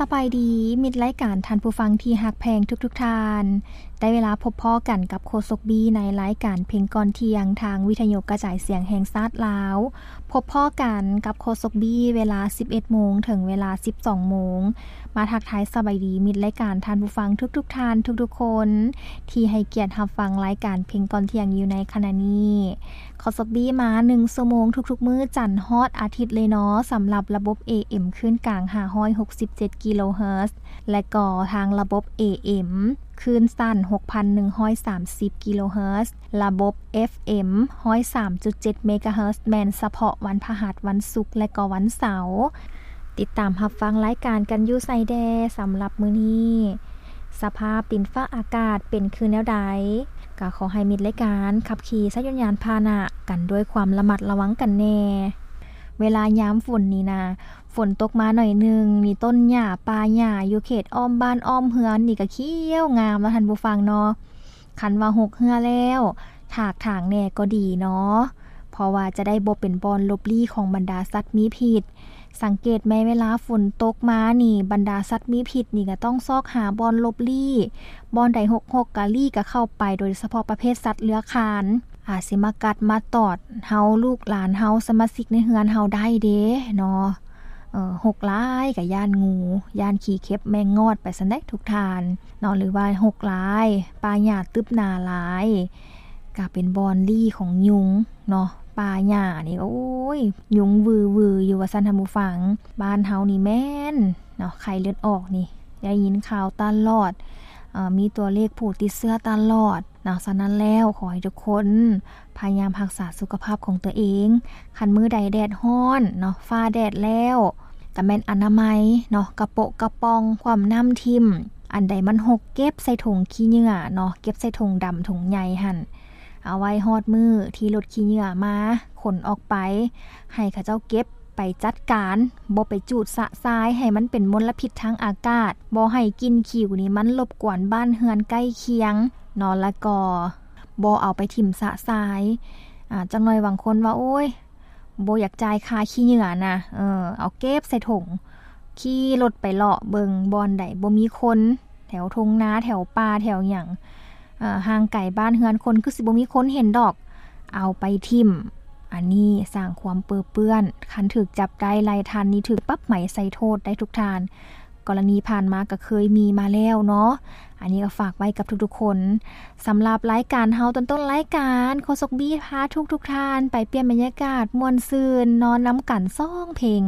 ສະບາຍດີ ມິດລາຍການ ທ່ານຜູ້ຟັງທີ່ຮັກແພງທຸກໆທ່ານ. ໄດ້ເວລາພົບພໍ້ກັນກັບໂຄສົກບີ ໃນລາຍການເພງກ່ອນທ່ຽງ ທາງວິທະຍຸກະຈາຍສຽງແຫ່ງຊາດລາວ. ພົບພໍ້ກັນກັບໂຄສົກບີ ເວລາສິບເອັດໂມງ ເຖິງເວລາສິບສອງໂມງ. ມາທັກທາຍສະບາຍດີ ມິດລາຍການ ທ່ານຜູ້ຟັງທຸກໆທ່ານ ທຸກໆຄົນ ທີ່ໃຫ້ກຽດຮັບຟັງລາຍການເພງກ່ອນທ່ຽງຢູ່ໃນຂະນະນີ້. ໂຄສົກບີມາໜຶ່ງຊົ່ວໂມງທຸກໆມື້ ຈັນຮອດອາທິດເລີຍເນາະ ສຳລັບລະບົບ ເອເອັມ ຄື້ນກາງ ຫ້າຮ້ອຍຫົກສິບເຈັດ ກິໂລເຮີດ ແລະກໍທາງລະບົບ ເອເອັມ ຄື້ນສັ້ນ ຫົກພັນໜຶ່ງຮ້ອຍສາມສິບ ກິໂລເຮີດ ລະບົບ ເອັບເອັມ ຮ້ອຍສາມຈຸດເຈັດ ເມກາເຮີດ ແມ່ນສະເພາະວັນພະຫັດ, ວັນສຸກ ແລະກໍວັນເສົາ. ຕິດຕາມຮັບຟັງລາຍການກັນຢູ່ໃສແດ່? ສຳລັບມື້ນີ້ ສະພາບດິນຟ້າອາກາດເປັນຄືແນວໃດ? ກໍຂໍໃຫ້ມິດລາຍການຂັບຂີ່ໃຊ້ຍົນຍານພາຫະນະກັນດ້ວຍຄວາມລະມັດລະວັງກັນແດ່. ເວລາຍາມຝົນນີ້ນະ ຝົນຕົກມາໜ້ອຍໜຶ່ງນີ້ ຕົ້ນຫຍ້າປ່າຫຍ້າຢູ່ເຂດອ້ອມບ້ານອ້ອມເຮືອນນີ້ກໍຂຽວງາມແລ້ວ ທ່ານຜູ້ຟັງເນາະ. ຄັນວ່າຮົກເຮືອແລ້ວ ຖາກຖາງແດ່ກໍດີເນາະ ເພາະວ່າຈະໄດ້ບໍ່ເປັນບ່ອນຫຼົບລີ້ຂອງບັນດາສັດມີພິດ. ສັງເກດແມ້ ເວລາຝົນຕົກມານີ້ ບັນດາສັດມີພິດນີ້ກໍຕ້ອງຊອກຫາບ່ອນຫຼົບລີ້, ບ່ອນໃດຮົກໆ ກໍລີ້ກໍເຂົ້າໄປ, ໂດຍສະເພາະປະເພດສັດເລືອຄານ ອາດຊິມາກັດມາຕອດເຮົາ, ລູກຫຼານເຮົາ, ສະມາຊິກໃນເຮືອນເຮົາໄດ້ເດ້ເນາະ. ເອີ ຮົກຫຼາຍກໍຢ້ານງູ, ຢ້ານຂີ້ເຂັບແມງງອດໄປຊັ້ນໃດ໋ທຸກທ່ານເນາະ, ຫຼືວ່າຮົກຫຼາຍ, ປ່າຫຍ້າຕຶບໜາຫຼາຍ ກະເປັນບ່ອນລີ້ຂອງຍຸງເນາະ. ປ່າຫຍ້ານີ້ ໂອ້ຍ ຍຸງວືໆຢູ່ວ່າຊັ້ນ ທ່ານຜູ້ຟັງ. ບ້ານເຮົານີ້ແມ່ນເນາະ ໄຂ້ເລືອດອອກນີ້ ໄດ້ຍິນຂ່າວຕະຫຼອດ, ເອີ ມີຕົວເລກຜູ້ຕິດເຊື້ອຕະຫຼອດເນາະ. ສະນັ້ນແລ້ວ ຂໍໃຫ້ທຸກຄົນພະຍາຍາມຮັກສາສຸຂະພາບຂອງຕົວເອງ. ຄັນມື້ໃດແດດຮ້ອນເນາະ, ຟ້າແດດແລ້ວ ກະແມ່ນອະນາໄມເນາະ, ກະໂປະກະປ່ອງ, ຂວ້ຳນ້ຳຖິ້ມ. ອັນໃດມັນຮົກ ເກັບໃສ່ຖົງຂີ້ເຫຍື້ອເນາະ, ເກັບໃສ່ຖົງດຳຖົງໃຫຍ່ຫັ້ນ. ເອົາໄວ້ຮອດມື້ທີ່ລົດຂີ້ເຫຍື້ອມາຂົນອອກໄປ ໃຫ້ເຂົາເຈົ້າເກັບໄປຈັດການ, ບໍ່ໄປຈູດຊະຊາຍໃຫ້ມັນເປັນມົນລະພິດທາງອາກາດ, ບໍ່ໃຫ້ກິ່ນຂິວນີ້ມັນລົບກວນບ້ານເຮືອນໃກ້ຄຽງເນາະ, ແລ້ວກໍບໍ່ເອົາໄປຖິ້ມຊະຊາຍ. ອາ ຈັກໜ່ອຍບາງຄົນວ່າ ໂອ້ຍ ບໍ່ຢາກຈ່າຍຄ່າຂີ້ເຫຍື້ອນະ, ເອີ ເອົາເກັບໃສ່ຖົງ, ຂີ່ລົດໄປເລາະເບິ່ງບ່ອນໃດບໍ່ມີຄົນ, ແຖວທົ່ງນາ, ແຖວປ່າ, ແຖວຫຍັງ ເອີ ຫ່າງໄກບ້ານເຮືອນຄົນ ຄືຊິບໍ່ມີຄົນເຫັນດອກ, ເອົາໄປຖິ້ມ. ອັນນີ້ສ້າງຄວາມເປິເປື້ອນ, ຄັນຖືກຈັບໄດ້ໄລ່ທັນນີ້ ຖືກປັບໃໝໃສ່ໂທດໄດ້ທຸກທ່ານ. ກໍລະນີຜ່ານມາກໍເຄີຍມີມາແລ້ວເນາະ. ອັນນີ້ກໍຝາກໄວ້ກັບທຸກໆຄົນ. ສຳລັບລາຍການເຮົາ ຕົ້ນໆລາຍການ ໂຄສົກບີພາທຸກໆທ່ານໄປປ່ຽນບັນຍາກາດ ມ່ວນຊື່ນ ນອນນຳກັນສອງເພງ.